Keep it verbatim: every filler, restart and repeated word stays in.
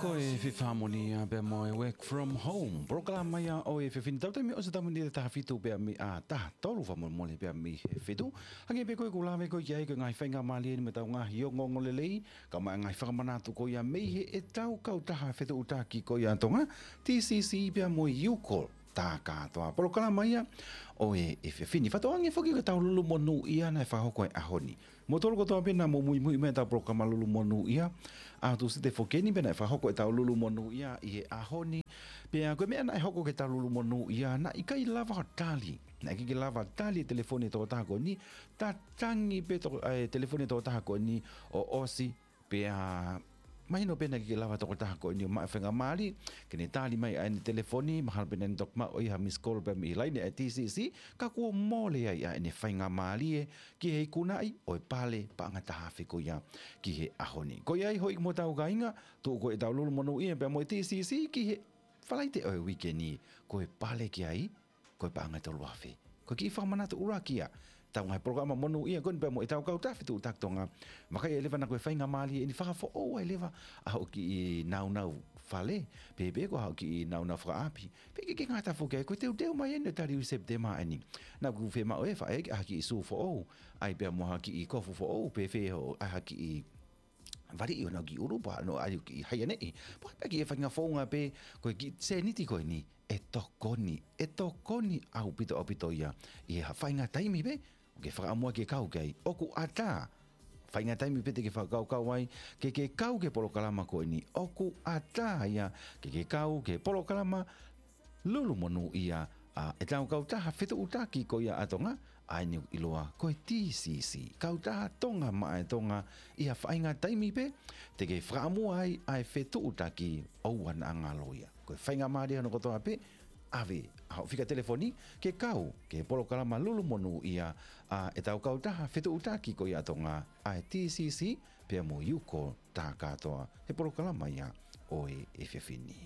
Ko e Fifth Harmony ia pea mo e Work From Home. Polokalama ia ʻo e efiafi ni, tau taimi ʻosi, tau miniti ʻe taha fitu pea mei he taha tolu, fakamolemole, pea mei he fitu. Hangē pē ko ʻeku lave ko ē ki ai, ko e ngaahi faingamālie eni mo ʻetau ngaahi ongoongolelei, kae ʻumaʻā e ngaahi fakamanatu ko ia mei heʻetau kautaha fetuʻutaki ko ia ʻa Tonga, T C C pea mo e Youcall Takatoa. Polokalama ia ʻo e efiafi ni. Fakatauange foki ko ʻetau Lulumonūʻia naʻe fakahoko he ʻaho ni. Mou tolu kotoa pē naʻa mou muimui mai ʻetau polokalama Lulumonūʻia ʻaho Tūsite foki eni, pea naʻe fakahoko ʻetau Lulumonūʻia ʻi he ʻaho ni. Pea ko e meʻa naʻe hoko ki heʻetau Lulumonūʻia, naʻe ʻikai lava ʻo tali. Naʻe ʻikai ke lava tali e telefoni ʻa e tokotaha ko eni. Tatangi pē to-, e telefoni ʻa e tokotaha ko eni ʻo ʻosi. Pea mahino pē naʻe ʻikai ke lava e tokotaha ko eni ʻo maʻu e faingamālie ke ne tali mai ʻa ʻene telefoni, mahalo pē naʻa ne toki maʻu ʻe ia ha missed call pea mei he laine ʻa e T C C, ka kuo mole ai ʻa ʻene faingamālie ki he ikunaʻi ʻo e pale paʻanga taha afe ko ia ki he ʻaho ni. Ko ia ai, houʻeiki mo hotau kāinga, tuʻu ko ē ʻetau Lulumonūʻia pea mo e T C C ki he Falaite ʻo e uike ni, ko e pale ki ai, ko e paʻanga ʻe tolu afe. Ko e kiʻi fakamanatu ʻuluaki ia ʻetau ngaahi polokalama monūʻia ko eni pea mo ʻetau kautaha fetuʻutaki Tonga. Vakai ai leva naʻa ko e faingamālie eni, fakafoʻou ai leva ʻa hoʻo kiʻi nāunau fale, pe pe ko haʻo kiʻi nāunau fakaʻapi. Pea ʻikai ke ngata foki ai, ko e teuteu mai eni ʻo tali ui Sepitema eni. Naʻa ku fiemaʻu ʻe faʻē ʻa ha kiʻi sū foʻou, ʻai pea mo ha kiʻi kofu foʻou, pe fēfē hoʻo ʻai ha kiʻi valiʻi ʻo nau kiʻi ʻulu, pe ʻai hoʻo kiʻi haianeʻi, pe ʻai pē ha kiʻi faʻahinga founga pē, ko e kiʻi sēniti ko eni, ʻe tokoni, ʻe tokoni ʻaupito, ʻaupito ia ʻi ha faʻahinga taimi pē ʻoku ke fakaʻamu ai ke kau ki ai. ʻOku ʻatā, faʻahinga taimi pē te ke fakakaukau ai ke ke kau ki he polokalama ko eni, ʻoku ʻatā ia ke ke kau ki he polokalama Lulumonūʻia ʻa ʻetau kautaha fetuʻutaki ko ia ʻa Tonga, ʻa eni ʻoku ʻiloa ko e T C C, Kautaha Tonga Maʻa e Tonga. ʻI ha faʻahinga taimi pē te ke fakaʻamu ai ʻa e fetuʻutaki, ʻoua naʻa ngalo ia. Ko e faingamālie hono kotoa pē, ʻave ʻa hoʻo fika telefoni ke kau ki he polokalama Lulumonūʻia ʻa ʻetau kautaha fetuʻutaki ko ia ʻa Tonga, ʻa e T C C pea mo e Youcall Takatoa, he polokalama ia ʻo e efiafi ni.